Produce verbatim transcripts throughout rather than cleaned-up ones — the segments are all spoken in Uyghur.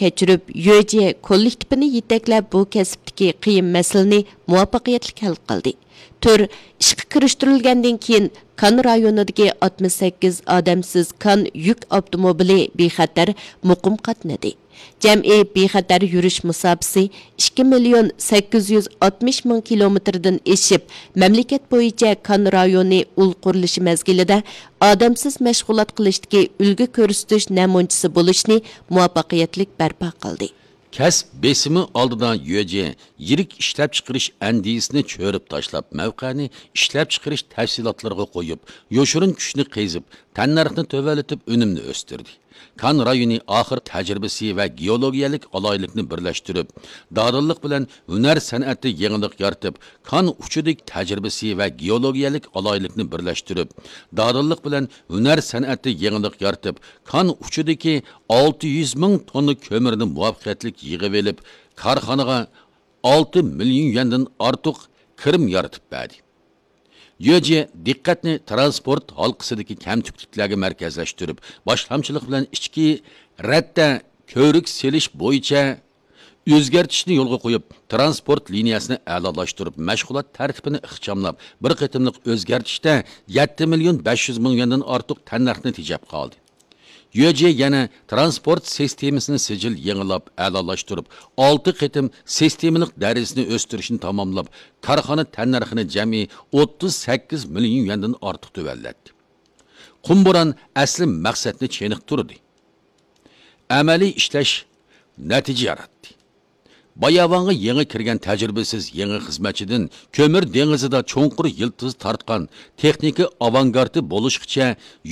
كەچۈرۈپ، يۆجې كوللېكتىپىنى يېتەكلەپ، بۇ كەسىپتىكى قىيىن مەسىلىنى مۇۋەپپەقىيەتلىك ھەل قىلدى. تۈر ئىشقا كىرىشتۈرۈلگەندىن كېيىن، كان رايونىدىكى ئاتمىش سەككىز ئادەمسىز كان يۈك ئاپتوموبىلى بىخەتەر، مۇقىم قاتنىدى. جەمئىي بىخەتەر يۈرۈش مۇساپىسى ئىككى مىليون سەككىز يۈز ئاتمىش مىڭ كىلومېتىردىن ئېشىپ، مەملىكەت بويىچە كان رايونى ئۇل قۇرۇلۇشى مەزگىلىدە ئادەمسىز مەشغۇلات قىلىشتىكى ئۈلگە كۆرسىتىش نەمۇنىچىسى بولۇشنى مۇۋەپپەقىيەتلىك بەرپا قىلدى. كەسىپ بېسىمى ئالدىدا يۆجې يىرىك ئىشلەپچىقىرىش ئەندىزىسىنى چۆرۈپ تاشلاپ، مەۋقەنى ئىشلەپچىقىرىش تەپسىلاتلىرىغا قويۇپ، يوشۇرۇن كۈچنى قېزىپ، تەننەرخنى تۆۋەنلىتىپ، ئۈنۈمنى ئۆستۈردى. كان رايونى ئاخىر تەجرىبىسى ۋە گېئولوگىيەلىك ئالاھىدىلىكنى بىرلەشتۈرۈپ، دادىللىق بىلەن ھۈنەر سەنئەتتە يېڭىلىق يارىتىپ، كان ئۇچىدىكى تەجرىبىسى ۋە گېئولوگىيەلىك ئالاھىدىلىكنى بىرلەشتۈرۈپ، دادىللىق بىلەن ھۈنەر سەنئەتتە يېڭىلىق يارىتىپ، كان ئۇچىدىكى ئالتە يۈز مىڭ توننا كۆمۈرنى مۇۋەپپەقىيەتلىك يىغىۋېلىپ، كارخانىغا ئالتە مىليون يۈەندىن ئارتۇق كىرىم يارىتىپ بەردى. يۆجې دىققەتنى تىرانسپورت ھالقىسىدىكى كەمتۈكلۈكلەرگە مەركەزلەشتۈرۈپ، باشلامچىلىق بىلەن ئىچكى رەتتە كۆۋرۈك سېلىش بويىچە ئۆزگەرتىشنى يولغا قويۇپ، تىرانسپورت لىنىيەسىنى ئەلالاشتۇرۇپ، مەشغۇلات تەرتىپىنى ئىخچاملاپ، بىر قېتىملىق ئۆزگەرتىشتە يەتتە مىليون بەش يۈز مىڭ يۈەندىن ئارتۇق تەننەرخنى تېجەپ قالدى. يۆجې يەنە تىرانسپورت سىستېمىسىنى سىجىل يېڭىلاپ، ئەلالاشتۇرۇپ، ئالتە قېتىم سىستېمىلىق دەرىجىسىنى ئۆستۈرۈشنى تاماملاپ، كارخانا تەننەرخىنى جەمئىي ئوتتۇز سەككىز مىليون يۈەندىن ئارتۇق تۆۋەنلەتتى. قۇم بوران ئەسلى مەقسەتنى چېنىقتۇردى. ئەمەلىي ئىشلەش نەتىجە ياراتتى. باياۋانغا يېڭى كىرگەن تەجرىبىسىز يېڭى خىزمەتچىدىن كۆمۈر دېڭىزىدا چوڭقۇر يىلتىز تارتقان تېخنىكا ئاۋانگارتى بولۇشقىچە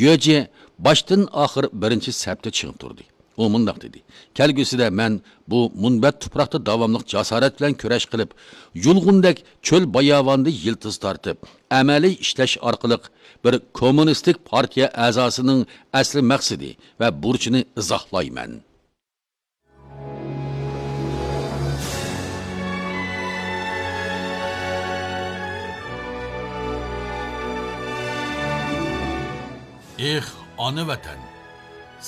يۆجې باشتىن ئاخىر بىرىنچى سەپتە چىڭ تۇردى. ئۇ مۇنداق دېدى: كەلگۈسىدە مەن بۇ مۇنبەت تۇپراقتا داۋاملىق جاسارەت بىلەن كۈرەش قىلىپ، يۇلغۇندەك چۆل باياۋاندا يىلتىز تارتىپ، ئەمەلىي ئىشلەش ئارقىلىق بىر كوممۇنىستىك پارتىيە ئەزاسىنىڭ ئەسلى مەقسىتى ۋە بۇرچىنى ئىزاھلايمەن. ئېھ، ئانا ۋەتەن!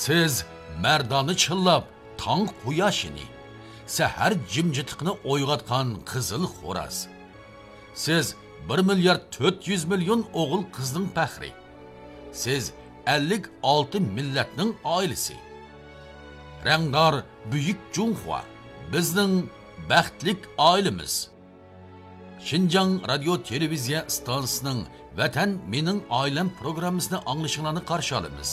سىز مەردانە چىللاپ تاڭ قۇياشىنى، سەھەر جىمجىتلىقىنى ئويغاتقان قىزىل خوراز. سىز بىر مىليارد تۆت يۈز مىليون ئوغۇل-قىزنىڭ پەخرى. سىز ئەللىك ئالتە مىللەتنىڭ ئائىلىسى. رەڭدار بۈيۈك جۇڭخۇا، بىزنىڭ بەختلىك ئائىلىمىز. شىنجاڭ رادىيو تېلېۋىزىيە ئىستانسىسىنىڭ ۋەتەن مېنىڭ ئائىلەم پروگراممىسىنى ئاڭلىشىڭلارنى قارشى ئالىمىز.